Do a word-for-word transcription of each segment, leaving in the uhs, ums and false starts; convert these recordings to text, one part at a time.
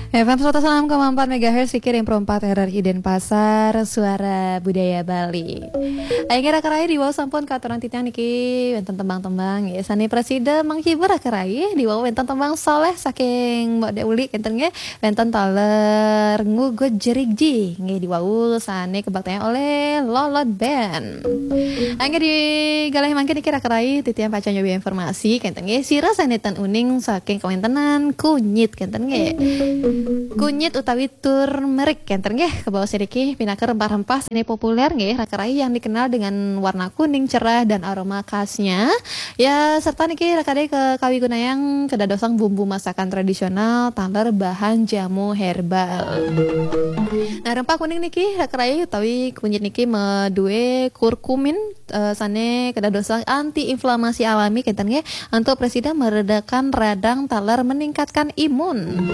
F M seratus enam koma empat megahertz, Fikir yang perempat R R I Denpasar, Suara Budaya Bali. Akhirnya raka rai di wau sampun katurang titiang niki wenten tembang-tembang nggih. Sane prasida menghibur raka rai di wau wenten tembang soleh saking Mbok Dek Uli kenten nggih. Wenten taler ngugut jerigji nggih di wau sane kebaktian oleh Lolot Band. Angge di galih mangkin niki raka rai titiang pacang nyobi informasi kenten nggih. Sira sane ten uning saking kawentenan kunyit kenten nggih. Kunyit utawi turmeric kenten nggih. Kebaos niki pinaka rempah-rempah sane populer nggih raka rai yang dikenal dengan warna kuning cerah dan aroma khasnya. Ya, serta niki raka rai ke kawi gunayang kedadosang bumbu masakan tradisional taler bahan jamu herbal. Nah, rempah kuning niki raka rai utawi kunyit niki madue kurkumin eh, sane kedadosang anti inflamasi alami kenten nggih, untuk presida meredakan radang taler meningkatkan imun.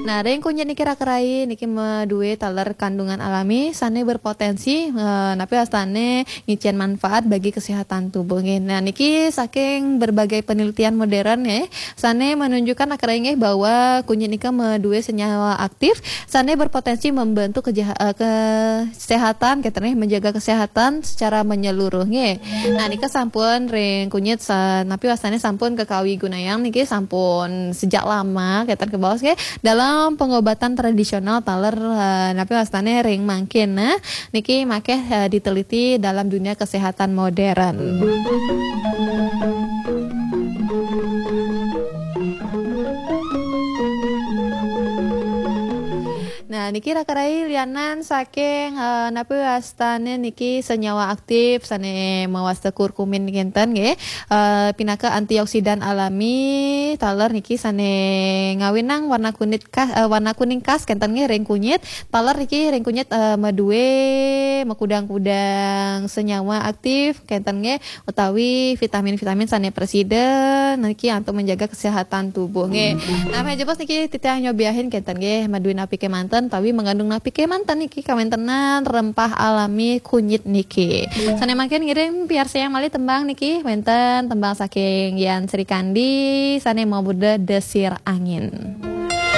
Nah, ring kunyit niki raka rai niki madue taler kandungan alami sane berpotensi eh, napi wastane ngicen manfaat bagi kesehatan tubuh nggih. Nah, niki saking berbagai penelitian modern ya, sane menunjukkan raka rai nggih bahwa kunyit nika madue senyawa aktif sane berpotensi membantu kejaha- eh, kesehatan kenten nggih, menjaga kesehatan secara menyeluruh nggih. Nah, nika sampun ring kunyit sa- napi wastane sampun kekawi gunayang niki sampun sejak lama kenten kebaos nggih dalam pengobatan tradisional taler eh, napi wastane ring mangkin. Nah, niki makeh eh, diteliti dalam dunia kesehatan modern. Nah, niki raka rai lianan saking eh, napi wastane niki senyawa aktif sane mawasta kurkumin kenten nggih. Eh, pinaka antioksidan alami taler niki sane ngawinang warna kunyit khas eh, warna kuning khas kenten nggih ring kunyit. Taler niki ring kunyit eh, madue makudang-kudang senyawa aktif kenten nggih utawi vitamin-vitamin sane presida niki untuk menjaga kesehatan tubuh nggih. Nah, meja bos niki titiang nyobiahin kenten nggih madue napi kemanten utawi mengandung napi kemanten niki kawentenan rempah alami kunyit niki. Sane mangkin ngiring piarsayang malih tembang niki wenten tembang saking Yan Srikandi sane mabuda Desir Angin.